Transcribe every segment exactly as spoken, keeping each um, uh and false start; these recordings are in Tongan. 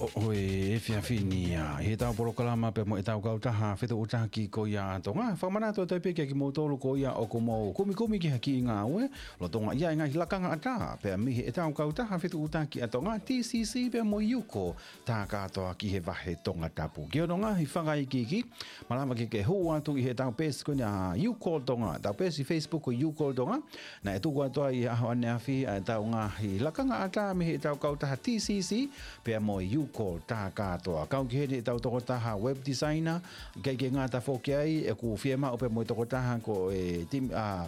ʻOku ʻi he efiafi ni ia, ʻi heʻetau polokalama pea mo ʻetau kautaha fetuʻutaki ko ia ʻa Tonga. Fakamanatu atu pē kiate kimoutolu ko ia ʻoku mou kumikumi ki ha kiʻi ngāue lolotonga ia e ngaahi lakanga ʻatā pea mei heʻetau kautaha fetuʻutaki ʻa Tonga, T C C pea mo e Yuko Takatoa ki he vahe Tongatapu. Ki hono ngaahi fakaikiiki, malava ke ke hū atu ʻi heʻetau peesi ko eni ʻa Yuko Tonga, ʻetau peesi Facebook ko Yuko Tonga. Naʻe tuku atu ai ʻi he ʻaho ʻaneafi ʻa ʻetau ngaahi lakanga ʻatā mei heʻetau kautaha T C C pea mo e Yuko Takatoa. Kau ki heni ʻetau tokotaha web designer, ʻikai ke ngata foki ai, ʻoku fiemaʻu pea mo e tokotaha ko e team, ʻa,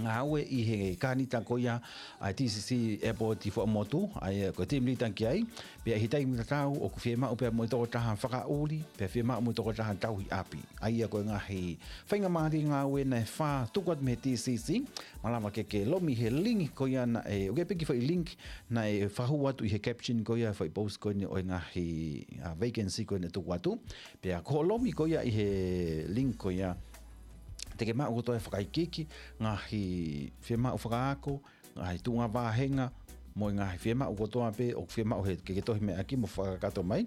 ngāue ʻi he kānita ko ia ʻa e T C C ʻEpoti Fuaʻamotu, ʻa ia ko e team leader ki ai, pea ʻi he taimi tatau ʻoku fiemaʻu pea mo e tokotaha fakaʻuli, pea fiemaʻu mo e tokotaha tauhi ʻapi. ʻA ia ko e ngaahi faingamālie ngāue naʻe fā tuku atu mei he T C C, malava ke ke lomi he link ko ia naʻe, ʻoku ʻi ai pē kiʻi foʻi link naʻe fakahū atu ʻi he caption ko ia foʻi post ko eni ʻo e ngaahi, ʻa, vacancy ko eni naʻe tuku atu. Pea ko hoʻo lomi ko ia ʻi he link ko ia, te ke maʻu kotoa e fakaikiiki, ngaahi fiemaʻu fakaako, ngaahi tuʻunga vāhenga, mo e ngaahi fiemaʻu kotoa pē ʻoku fiemaʻu he ke ke tohi mai ʻaki mo fakakakato mai.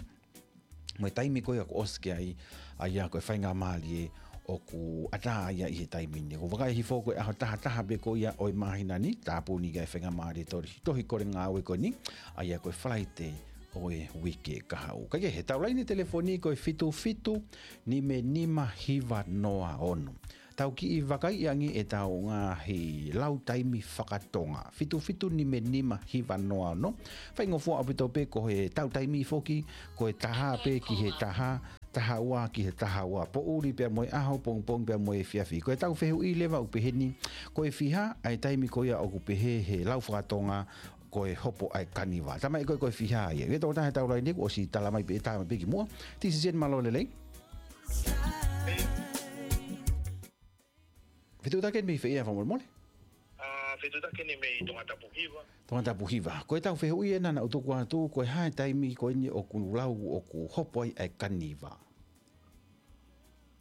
Mo e taimi ko ia kuo ʻosi ki ai, ʻa ia ko e faingamālie ʻoku ʻatā ia ʻi he taimi ni. ʻOku vakai hifo ko e ʻaho taha taha pē ko ia ʻo e māhina ni, tāpuni ki ai e faingamālie tohi, tohi kole ngāue ko eni, ʻa ia ko e Falaite ʻo e uike kahaʻu. Kae kehe, ʻetau laine telefoni ko e fitu fitu nima nima hiva noa ono. Tau kiʻi vakaiʻi ange ʻetau ngaahi lau taimi fakatonga. Fitu fitu nima nima hiva noa ono. Faingofua ʻaupito pē ko e tau taimi foki, ko e taha pē ki he taha, taha ua ki he taha ua. Poʻuli pea mo e ʻaho, pongipongi pea mo e efiafi. Ko ʻetau fehuʻi leva ʻoku peheni, ko e fiha ʻa e taimi ko ia ʻoku pehē he lau fakatonga ko e hopo ʻa e kaniva. Talamai ko e, ko e fiha ia. ʻOku ʻi ai e tokotaha he tau laine kuo ʻosi talamai pē, talamai pē kimuʻa. T C C eni, mālō e lelei. Fetuʻutaki eni mei fē ia, fakamolemole? ʻA, fetuʻutaki eni mei Tongatapu Hiva. Tongatapu Hiva. Ko ʻetau fehuʻi ena naʻa ku tuku atu, ko e hā e taimi ko eni ʻoku lau ʻoku hopo ai ʻa e kaniva?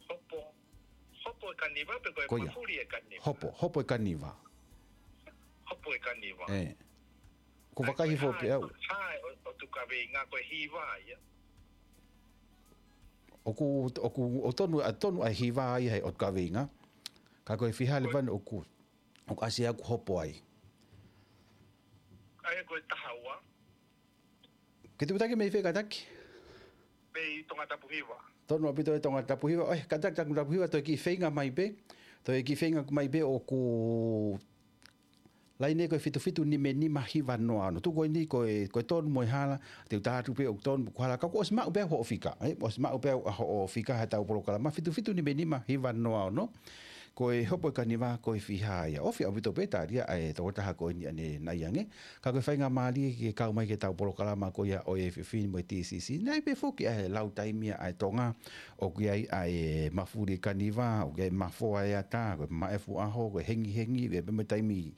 Hopo, hopo e kaniva pe ko e Ko ia. mafuli e kaniva? Hopo, hopo e kaniva. Hopo e kaniva. ʻE. ʻOku ou vakai hifo pē au. Ko e hā, ʻo, ʻotu kaveinga ko e hiva ia. ʻOku, ʻoku, ʻoku tonu, ʻa, tonu ʻa e hiva ia he ʻotu kaveinga. Ka ko e fiha leva ʻoku, ʻoku ʻasi ʻoku hopo ai. ʻA ia ko e taha ua. Ke tuʻutaki mei fē kātaki? Mei Tongatapu Hiva. Tonu ʻaupito e Tongatapu Hiva. ʻOi, kātaki Tongatapu Hiva, toe kiʻi feinga mai pē. Toe kiʻi feinga mai pē ʻoku laine ko e fitu fitu nima nima hiva noa ono. Tuku eni ko e, ko e tonu mo e hala, te u tā atu pē ʻoku tonu mo hala. Ka kuo ʻosi maʻu pē hoʻo fika, ē? ʻOsi maʻu pē hoʻo fika he tau polokalama, fitu fitu nima nima hiva noa ono. Ko e hopo e kaniva, ko e fiha ia. ʻOku fiha ʻaupito pē tali ʻa e tokotaha ko eni ʻanenai ange. Ka ko e faingamālie ke kau mai ki he tau polokalama ko ia ʻo e efiafi ni mo e T C C. Naʻe ʻi ai pē foki ʻa e lau taimi ʻa e Tonga, ʻoku ʻi ai ʻa e mafuli kaniva, ʻoku ʻi ai e mafoa e ata, ko e maʻefu ʻaho, ko e hengihengi, ʻi ai pē mo e taimi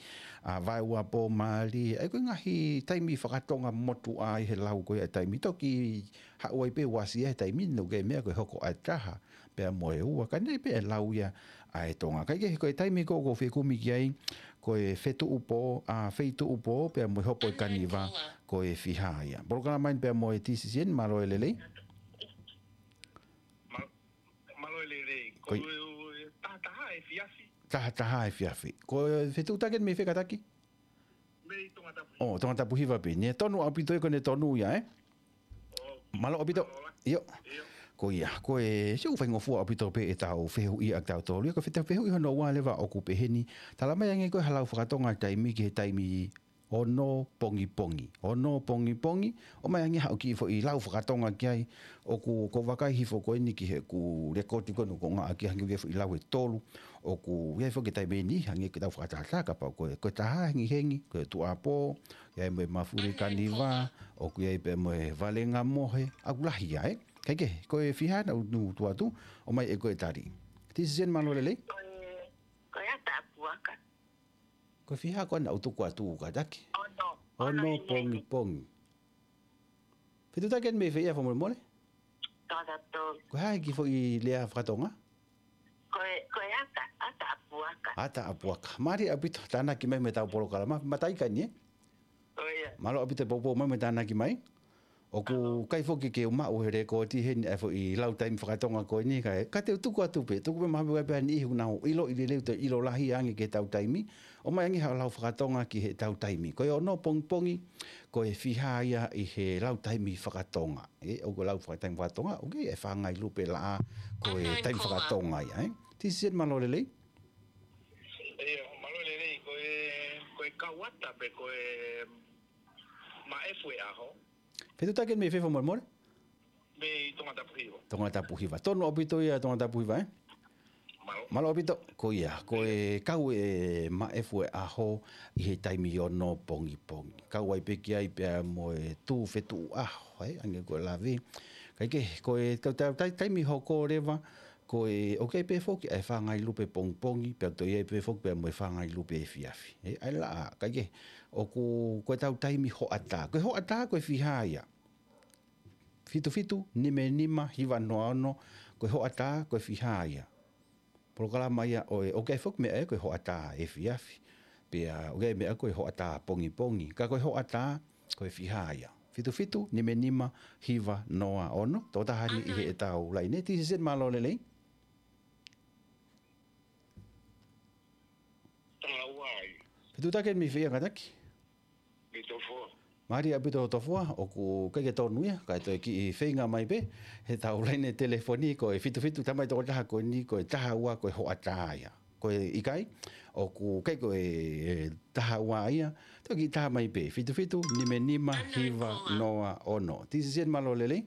ʻa vaeua pō mali, ʻa ia ko e ngaahi taimi fakatonga motuʻa ʻi he lau ko ia e taimi. Toki haʻu ai pē uasi ia he taimi ni, ʻoku ʻi ai e meʻa ko e hoko ʻa e taha pea mo e ua, ka naʻe ʻi ai pē e lau ia ʻa e Tonga. Kae kehe, ko e taimi ko ē ʻoku ou fekumi ki ai, ko e fetuʻu pō, ʻa, feituʻu pō, pea mo e hopo e kaniva, ko e fiha ia. Polokalama eni pea mo e T C C eni, mālō e lelei. Ma-, mālō e lelei. Ko Ko e taha taha efiafi. Taha taha efiafi. Ko e fetuʻutaki eni mei fē kātaki? Mei Tongatapu Hiva. ʻO, Tongatapu Hiva pē. Naʻe tonu ʻaupito ia, ko ʻene tonu ia, ē? ʻO, Mālō ʻaupito. Mālō. ʻIo. ʻIo. Ko ia, ko e, ʻoku faingofua ʻaupito pē ʻetau fehuʻi ʻa kitautolu ia, ko e fetuʻu fehuʻi hono ua leva ʻoku peheni. Talamai ange ko e hala fakatonga taimi ki he taimi ono pongipongi. Ono pongipongi, ʻomai ange haʻo kiʻi foʻi lau fakatonga ki ai, ʻoku, ʻoku ou vakai hifo ko eni ki heʻeku lekooti ko eni ʻoku ngaʻaki hangē ko e foʻi lau ʻe tolu, ʻoku ʻi ai foki e taimi ni, hangē ko e tau fakatātā kapau ko e, ko e taha hengihengi, ko e tuʻuapō, ʻi ai mo e mafuli kaniva, ʻoku ʻi ai pē mo e valenga mohe, ʻoku lahi ia, ē? Kae kehe, ko e fiha naʻa ku tuku atu, ʻomai ʻe koe e tali. T C C eni, mālō e lelei. Ko e, ko e ata ʻapuaka. Ko e fiha ko ē naʻa ku tuku atu kātaki? Ono. Ono Ono ʻi he pongipongi. Fetuʻutaki eni mei fē ia, fakamolemole? Tongatapu. Ko e hā e kiʻi foʻi lea fakatonga? Ko e, ko e ata, ata ʻapuaka. Ata ʻapuaka. Mālie ʻaupito, tānaki mai mei he tau polokalama. Mataʻi ka eni, ē? ʻO ia. Mālō ʻaupito e poupou mai mo e tānaki mai. ʻOku ʻikai foki ke u maʻu he lēkooti heni ʻa e foʻi lau taimi fakatonga ko eni, kae, ka te u tuku atu pē, tuku pē maha pē pea ni ihu nau ʻilo ʻi leleu te ʻilo lahi ange ki heʻetau taimi, ʻomai ange ha lau fakatonga ki heʻetau taimi. Ko e ono pongipongi, ko e fiha ia ʻi he lau taimi fakatonga. ʻE, ʻoku lau faka-, taimi fakatonga, ʻoku ʻi ai e fāngai lupe laʻā, ko e taimi fakatonga ia, ē. Tisi Seni, mālō e lelei. ʻIo, mālō e lelei, ko e, ko e kauata pe ko e maʻefu e ʻaho. Fetuʻutaki mei fē fakamolemole? Mei Tongatapu Hiva. Tongatapu Hiva. Tonu ʻaupito ia Tongatapu Hiva, ē? Mālō. Mālō ʻaupito, ko ia, ko e kau e maʻefu e ʻaho ʻi he taimi ono pongipongi. Kau ai pē ki ai pea mo e tuʻu fetuʻu ʻaho, ē, ange ko e lave. Kae kehe, ko e kau tau tai-, taimi hoko leva, ko e, ʻoku ʻi ai pē foki ʻa e fāngai lupe pongipongi, pea toe ʻi ai pē foki pea mo e fāngai lupe efiafi. Ē, ʻa e laʻā, kae kehe, ʻoku, ko ʻetau taimi hoʻatā. Ko e hoʻatā, ko e fiha ia. Fitu fitu, nima nima, hiva noa ono, ko e hoʻatā, ko e fiha ia. Polokalama ia ʻo e, ʻoku ʻi ai foki meʻa ia, ko e hoʻatā efiafi. Pea, ʻoku ʻi ai meʻa ko e hoʻatā pongipongi. Ka ko e hoʻatā, ko e fiha ia. Fitu fitu, nima nima, hiva noa ono, tō taha ni ʻi heʻetau laine. Tisi Seni, mālō e lelei. Tala uai. Fetuʻutaki mei fē ia kātaki? Mei Tofoa. Mālō ʻaupito Tofoa, ʻoku ʻikai ke tonu ia, kae toe kiʻi feinga mai pē, heʻetau laine telefoni ko e fitu fitu, tamai tokotaha ko eni ko e taha ua ko e hoʻatā ia. Ko e ʻikai, ʻoku ʻikai ko e taha ua ia, toe kiʻi taha mai pē, fitu fitu, nima nima, hiva noa ono. Tisi Seni, mālō e lelei.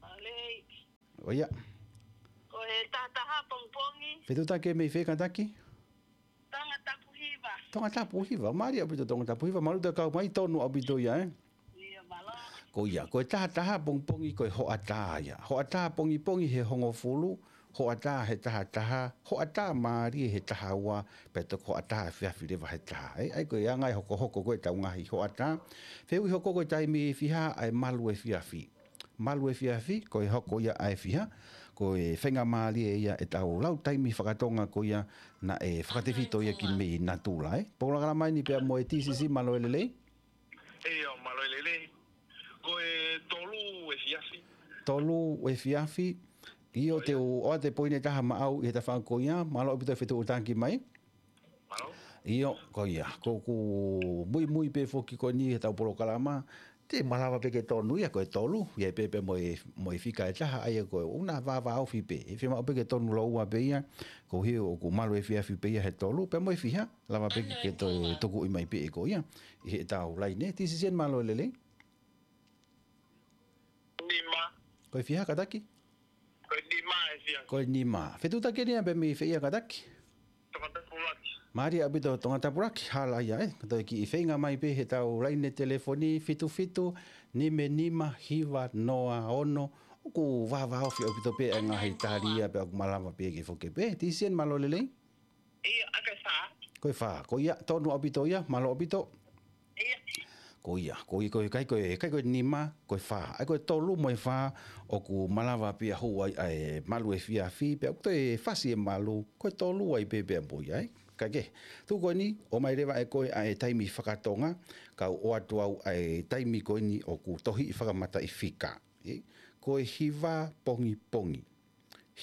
Mālō. ʻOia. Ko e taha taha pongipongi. Fetuʻutaki mei fē kātaki? Tongatapu Hiva. Tongatapu Hiva. Mālō ʻaupito Tongatapu Hiva. Mālō e kau mai, tonu ʻaupito ia, ē? ʻIo, mālō. Ko ia, ko e taha taha pongipongi ko e hoʻatā ia. Hoʻatā pongipongi he hongofulu, hoʻatā he taha taha, hoʻatā mālie he taha ua, pea toe hoʻatā efiafi leva he taha. Ē, ʻa ia ko e anga e hokohoko ko ē ʻetau ngaahi hoʻatā. Fehuʻi hoko ko e taimi fiha ʻa e malu efiafi. Malu efiafi, ko e hoko ia ʻa e fiha, ko e faingamālie ia ʻetau lau taimi fakatonga ko ia naʻe fakatefito ia ki mei natula, ē. Polokalama eni pea mo e Tisi Seni, mālō e lelei. ʻIo, mālō e lelei. Ko e tolu efiafi. Tolu efiafi. ʻIo, te u ʻoatu e poini ʻe taha maʻau ʻi he tafaʻaki ko ia, mālō ʻaupito e fetuʻutaki mai. Mālō. ʻIo, ko ia. Ko ʻeku muimui pē foki ko eni heʻetau polokalama, te malava pē ke tonu ia ko e tolu, ʻi ai pē pea mo e, mo e fika ʻe taha, ʻa ia ko e ʻoua naʻa vāvāofi pē. ʻE fiemaʻu pē ke tonu lōua pē ia, koeʻuhi ʻoku malu efiafi pē ia he tolu, pea mo e fiha, lava pē ke toe tukuʻi mai pē ʻe koe ia ʻi heʻetau laine. Tisi Seni, mālō e lelei. Nima. Ko e fiha kātaki? Ko e nima efiafi. Ko e nima. Fetuʻutaki eni ia pea mei fē ia kātaki? Tongatapu Laki. Mālō ʻaupito Tongatapu Laki, hala ia, ē. Ka toe kiʻi feinga mai pē heʻetau laine telefoni, fitu fitu, nima nima, hiva noa ono. ʻOku vāvāofi ʻaupito pē ʻa e ngaahi tali ia pea ʻoku malava pē ke foki pē. Tisi Seni, mālō e lelei. ʻIo, ʻa e fā. Ko e fā, ko ia, tonu ʻaupito ia, mālō ʻaupito. ʻIo. Ko ia, ko ia, ko e ʻikai ko e, ʻikai ko e nima, ko e fā. ʻA ia ko e tolu mo e fā, ʻoku malava pē ia hū ai ʻa e malu efiafi, pea ʻoku toe fasi e malu, ko e tolu ai pē pea mo ia, ē. Kae kehe, tuku ko eni, ʻomai leva ʻe koe ʻa e taimi fakatonga, kau ʻoatu au ʻa e taimi ko eni ʻoku tohiʻi fakamataʻifika. Ē, ko e hiva pongipongi.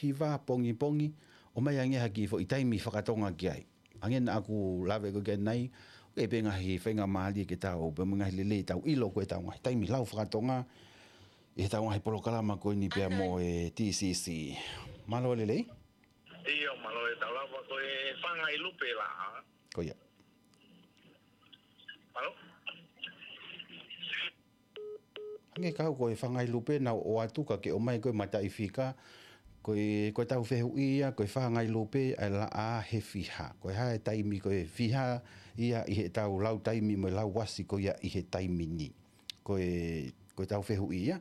Hiva pongipongi, ʻomai ange ha kiʻi foʻi taimi fakatonga ki ai. Hangē naʻa ku lave ko ē ki ai, ʻoku ʻi ai pē ngaahi faingamālie ke tau, pea mo e ngaahi lelei tau ʻilo ko ē ʻetau ngaahi taimi lau fakatonga, ʻi heʻetau ngaahi polokalama ko eni pea mo e T C C. Mālō e lelei. ʻIo, mālō e tau lava ko e fāngai lupe laʻā. Ko ia. Mālō. Hangē kau ko e fāngai lupe naʻa ku ʻoatu ka ke ʻomai ko e mataʻifika, ko e, ko ʻetau fehuʻi ia, ko e fāngai lupe ʻa e laʻā he fiha. Ko e hā e taimi ko e fiha ia ʻi heʻetau lau taimi mo e lau uasi ko ia ʻi he taimi ni. Ko e, ko ʻetau fehuʻi ia,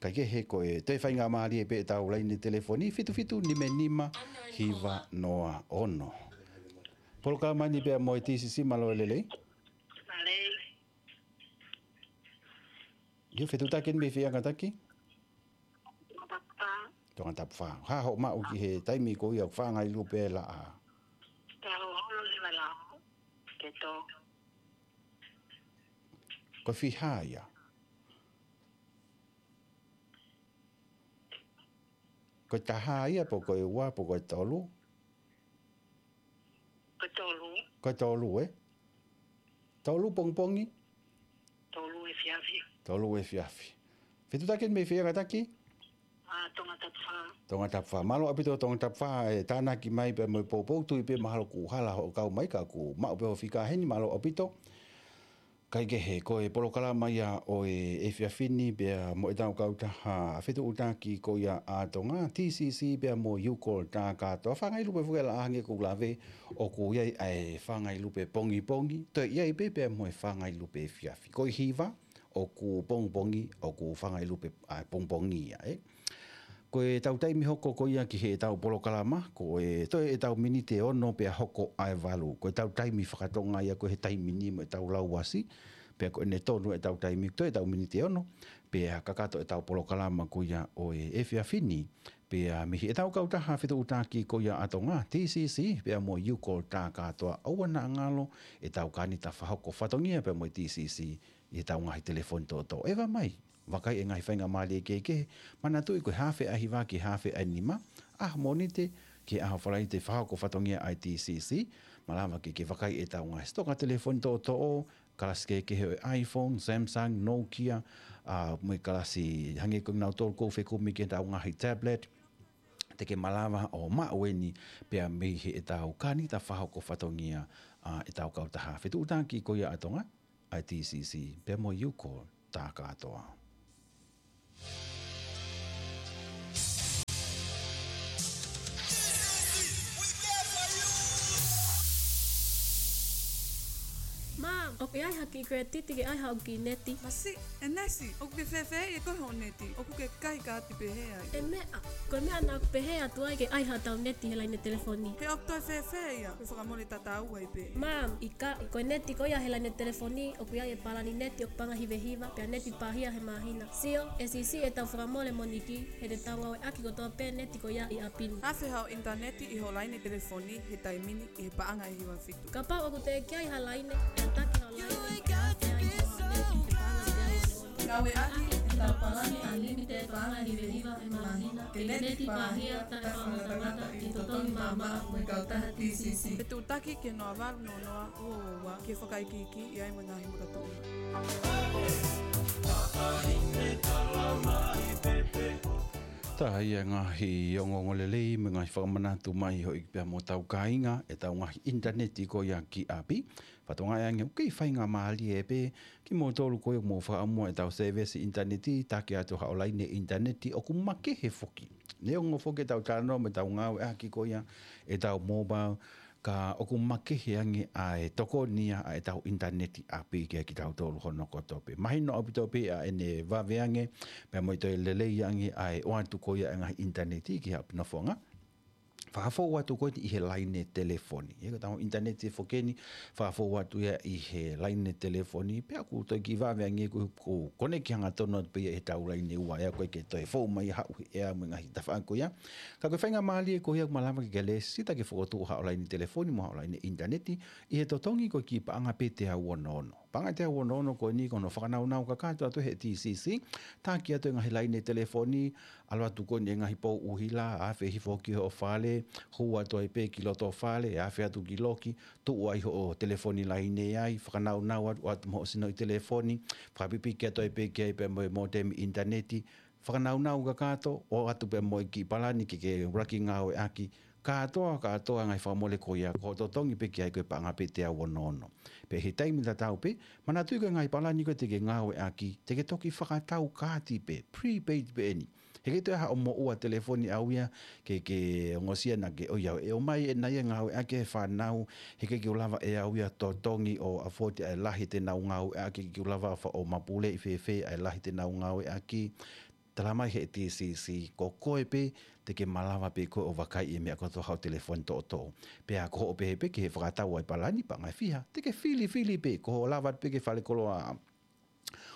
kae kehe ko e toe faingamālie pē ʻetau laine telefoni, fitu fitu nima nima hiva noa ono. Polokalama ni pea mo e T C C, mālō e lelei. Mālō. ʻIo, fetuʻutaki eni mei fē ia kātaki? Tongatapu Fā. Tongatapu Fā. Hā hoʻo maʻu ki he taimi ko ia ʻoku fāngai lupe laʻā? Taha ono lima lau. Ke tō. Ko e fiha ia? Ko e taha ia, pe ko e ua, pe ko e tolu? Ko e tolu. Ko e tolu, ē? Tolu pongipongi? Tolu efiafi. Tolu efiafi. Fetuʻutaki mei fē kātaki? ʻA Tongatapu Fā. Tongatapu Fā. Mālō ʻaupito Tongatapu Fā, ʻe tānaki mai pea mo e poupou, tui pē mahalo kuo hala hoʻo kau mai ka kuo maʻu pē hoʻo fika heni, mālō ʻaupito. Kaikehe, ko e polokalama ia ʻo e efiafi ni pea mo ʻetau kautaha fetuʻutaki ko ia ʻa Tonga, T C C pea mo e U-Call tā kātoa. Fanga ʻi lupe fuke la ange ko lave ʻoku ʻi ai ʻa e fanga ʻi lupe pongipongi, toe ʻi ai pē pea mo e fanga ʻi lupe efiafi. Ko e hiva, ʻoku pongipongi, ʻoku fanga ʻi lupe, ʻa, pongipongi ia, ē. Ko ʻetau taimi hoko ko ia ki heʻetau polokalama, ko e toe ʻetau miniti ʻe ono pea hoko ʻa e valu. Ko ʻetau taimi faka-Tonga ia ko e he taimi ni mo ʻetau lauasi, pea ko ʻene tonu ʻetau taimi, toe ʻetau miniti ʻe ono, pea kakato ʻetau polokalama ko ia ʻo e efiafi ni, pea mei heʻetau kautaha fetuʻutaki ko ia ʻa Tonga, T C C, pea mo e U-Call tā kātoa, ʻoua naʻa ngalo ʻetau kanita fakahoko fatongia pea mo e T C C, ʻi heʻetau ngaahi telefoni toʻotoʻo. ʻEva mai, vakai e ngaahi faingamālie kehekehe, manatuʻi ko e haafe ʻaho hiva ki he haafe ʻaho nima, ʻaho Mōnite ki he ʻaho Falaite fakahoko fatongia ʻa e T C C, malava ke ke vakai ʻetau ngaahi sitoka telefoni toʻotoʻo, kalasi kehekehe ʻo e iPhone, Samsung, Nokia, ʻa, mo e kalasi hangē ko kinautolu ʻoku fekumi ki heʻetau ngaahi tablet, te ke malava ʻo maʻu eni pea mei heʻetau kanita fakahoko fatongia ʻa ʻetau kautaha fetuʻutaki ko ia ʻa Tonga, ʻa e T C C, pea mo e U-Call tā kātoa. Mom, ʻoku ʻi ai haʻaku kiʻi credit ke ʻai haʻaku kiʻi neti? Masiʻi, ʻEnesi, ʻoku ke fēfē ʻi he koe hoʻo neti? ʻOku ke kai kaati pehē ai? ʻE meʻa, ko e meʻa naʻa ku pehē atu ai ke ʻai haʻatau neti he laine telefoni. He ʻoku toe fēfē ia? Ko e fakamole tatau ai pē. Mom, ʻikai, ko e neti ko ia he laine telefoni, ʻoku ʻi ai e palani neti ʻoku paʻanga ʻe hiva hiva, pea neti pāhia he māhina. Sio, ʻe siʻisiʻi ʻetau fakamole moniki, he te tau ngāueʻaki kotoa pē neti ko ia ʻi ʻapi ni. Afe haʻo ʻinitaneti ʻi hoʻo laine telefoni he taimi ni ʻi he paʻanga ʻe hiva fitu. Kapau ʻoku teʻeki ai ha laine, tataki haʻo laine, pea afe ai ki hoʻo neti he paʻanga ʻe teau ono ono. Ngāueʻaki ʻetau palani unlimited paʻanga ʻe hiva hiva he māhina, ke neti pāhia taʻefakangatangata ʻi he totongi maʻamaʻa mo e kautaha T C C. Fetuʻutaki ki he noa valu noa noa ua ua ua, ke fakaikiiki ʻi ai mo e ngaahi makatuʻunga. Tā ia e ngaahi ongoongolelei mo e ngaahi fakamanatu mai hoʻi pea mo hotau kāinga, ʻetau ngaahi ʻinitaneti ko ia ki ʻapi. Fakatokangaʻi ange ʻoku kei faingamālie pē kimoutolu ko ia ʻoku mou fakaʻamua ʻetau sēvesi ʻinitaneti, taki atu haʻo laine ʻinitaneti ʻoku makehe foki. Neongo foki ʻetau talanoa mo ʻetau ngāueʻaki ko ia ʻetau mobile, ka ʻoku makehe ange ʻa e tokoni ia ʻa ʻetau ʻinitaneti ʻapi kiate kitautolu hono kotoa pē. Mahino ʻaupito pē ʻa ʻene vave ange, pea mo e toe lelei ange ʻa e ʻoatu ko ia e ngaahi ʻinitaneti ki haʻo nofoʻanga. Fakafou atu ko eni ʻi he laine telefoni. ʻE, ko ʻetau ʻinitaneti foki eni, fakafou atu ia ʻi he laine telefoni, pea ʻoku toe kiʻi vave ange ko, ko koneki hangatonu atu pē ia ʻi heʻetau laine ua, ʻe ʻikai ke toe fou mai haʻu he ʻea mo e ngaahi tafaʻaki ko ia. Ka ko e faingamālie ko ia ʻoku malava ke ke lēsisita ke fokotuʻu haʻo laine telefoni mo haʻo laine ʻinitaneti, ʻi he totongi ko e kiʻi paʻanga pē teau ono ono. Paʻanga teau ono ono ko eni ko hono fakanaunau kakato atu he T C C, taki atu e ngaahi laine telefoni, ʻalu atu ko eni e ngaahi pou ʻuhila, afe hifo ki hoʻo fale, hū atu ai pē ki loto fale, afe atu ki loki, tuʻu ai hoʻo telefoni laine ai, fakanaunau atu, ʻoatu mo hoʻo sinoʻi telefoni, fakapipiki atu ai pē ki ai pea mo e modem ʻinitaneti, fakanaunau kakato, ʻoatu pea mo e kiʻi palani ke ke ʻuluaki ngāueʻaki, kātoa, kātoa e ngaahi fakamole ko ia, ko hoʻo totongi pē ki ai ko e paʻanga pē teau ono ono. Pea ʻi he taimi tatau pē, manatuʻi ko e ngaahi palani ko ē te ke ngāueʻaki, te ke toki fakatau kaati pē, prepaid pē eni. He ʻikai toe ʻi ai haʻo moʻua telefoni ʻaʻau ia, ke, ke ongosia naʻa ke ʻoiauē, ʻomai ʻena ia ngāueʻaki ʻe he fānau, he ʻikai ke u lava ʻe au ia totongi ʻo afford ʻa e lahi te nau ngāueʻaki, ʻikai ke u lava fa-, ʻo mapuleʻi fēfē ʻa e lahi te nau ngāueʻaki. Talamai he T C C, ko koe pē te ke malava pē koe ʻo vakaiʻi e meʻa kotoa haʻo telefoni toʻotoʻo. Pea ko hoʻo pehē pē ki he fakatau ʻa e palani paʻanga ʻe fiha, te ke filifili pē, ko hoʻo lava pē ke falekoloa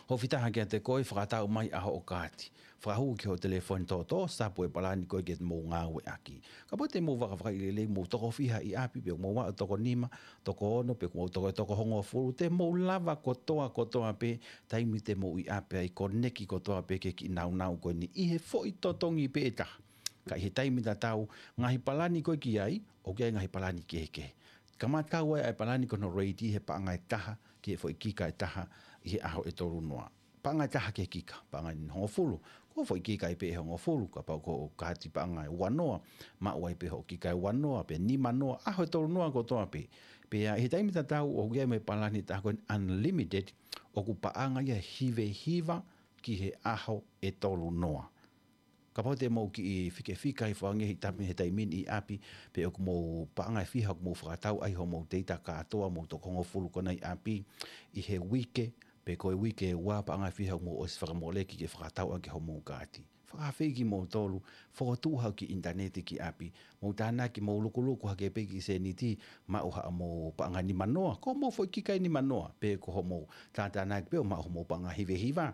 hofitaha kiate koe, fakatau mai ʻa hoʻo kaati. Fakahū ki hoʻo telefoni toʻotoʻo, sapu e palani ko ē ke mou ngāueʻaki. Kapau te mou vakavakaʻi lelei, mou toko fiha ʻi ʻapi, pe mou aʻu toko nima, toko ono, pe mou toko, toko hongofulu, te mou lava kotoa, kotoa pē, taimi te mou ʻi ʻapi ai, koneki kotoa pē ki he kiʻi naunau ko eni ʻi he foʻi totongi pē ʻe taha. Ka ʻi he taimi tatau, ngaahi palani ko ē ki ai, ʻoku ʻi ai ngaahi palani kehekehe. Kamata ʻa e palani ko hono reiti he paʻanga ʻe taha, ki he foʻi kika ʻe taha, ʻi he ʻaho ʻe tolu noa. Paʻanga ʻe taha ki he kika, paʻanga ʻe hongofulu. Ko e foʻi kika ʻi pē ʻe hongofulu, kapau ko e kaati paʻanga ʻe ua noa, maʻu ai pē hoʻo kika ʻe ua noa, pe nima noa, ʻaho ʻe tolu noa kotoa pē. Pea ʻi he taimi tatau, ʻoku ʻi ai mo e palani ʻe taha ko e unlimited, ʻoku paʻanga ia ʻe hiva hiva ki he ʻaho ʻe tolu noa. Kapau te mou kiʻi fikefika hifo ange he taimi, he taimi ni ʻi ʻapi, pe ʻoku mou paʻanga ʻe fiha ʻoku mou fakatau ai hoʻomou teita kātoa, mou toko hongofulu ko ena ʻi ʻapi, ʻi he uike, pe ko e uike ʻe ua, paʻanga ʻe fiha ʻoku mou ʻosi fakamoleki ke fakatau ʻaki hoʻomou kaati. Fakaafeʻi kimoutolu, fokotuʻu haʻo kiʻi ʻinitaneti ki ʻapi, mou tānaki, mou lukuluku hake pē kiʻi sēniti, maʻu haʻamou paʻanga nima noa, ko hoʻomou foʻi kika ʻe nima noa, pe ko hoʻomou tātānaki pē ʻo maʻu hoʻomou paʻanga hiva hiva.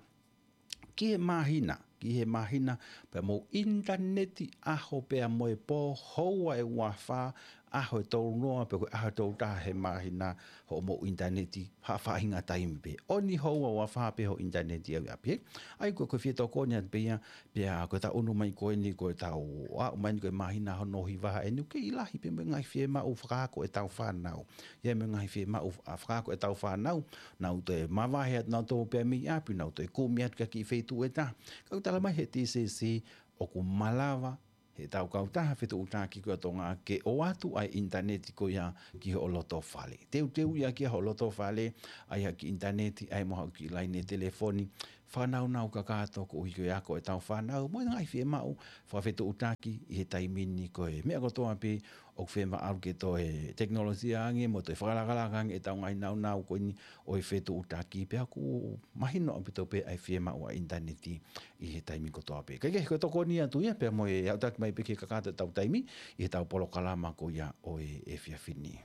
Ki he māhina, ki he māhina, pea mou ʻinitaneti ʻaho pea mo e pō, houa ʻe ua fā, ʻaho ʻe tolu noa, pe ko e ʻaho ʻe tolu taha he māhina, hoʻomou ʻinitaneti, ha faʻahinga taimi pē. ʻOni houa ua fā pē hoʻo ʻinitaneti ʻi ʻapi. ʻA ia ko e, ko e fie tokoni atu pē ia, pea ko ʻetau ʻunu mai ko eni, ko ʻetau aʻu mai eni ko e māhina hono hiva eni, ʻoku kei lahi pē mo e ngaahi fiemaʻu fakaako ʻetau fānau. ʻI ai mo e ngaahi fiemaʻu, ʻa, fakaako ʻetau fānau, nau toe mavahe atu nautolu pē mei ʻapi, nau toe kumi atu ki ha kiʻi feituʻu ʻe taha. Ka ʻoku tala mai he T C C, ʻoku malava heʻetau kautaha fetuʻutaki ko ia ʻa Tonga ke ʻoatu ʻa e ʻinitaneti ko ia ki hoʻo loto fale. Teuteu ia ki hoʻo loto fale, ʻai ha kiʻi ʻinitaneti, ʻai mo haʻo kiʻi laine telefoni, fakanaunau kakato koeʻuhi ko e ako ʻetau fānau, mo e ngaahi fiemaʻu fakafetuʻutaki ʻi he taimi ni. Ko e meʻa kotoa pē ʻoku fiemaʻu ke toe tekinolosia ange mo toe fakalakalaka ange ʻetau ngaahi naunau ko eni ʻo e fetuʻutaki, pea ʻoku mahino ʻaupito pē ʻa e fiemaʻu ʻa e ʻinitaneti ʻi he taimi kotoa pē. Kae kehe, ko e tokoni atu ia pea mo e aʻutaki mai pē ke kakato ʻetau taimi ʻi heʻetau polokalama ko ia ʻo e efiafi ni.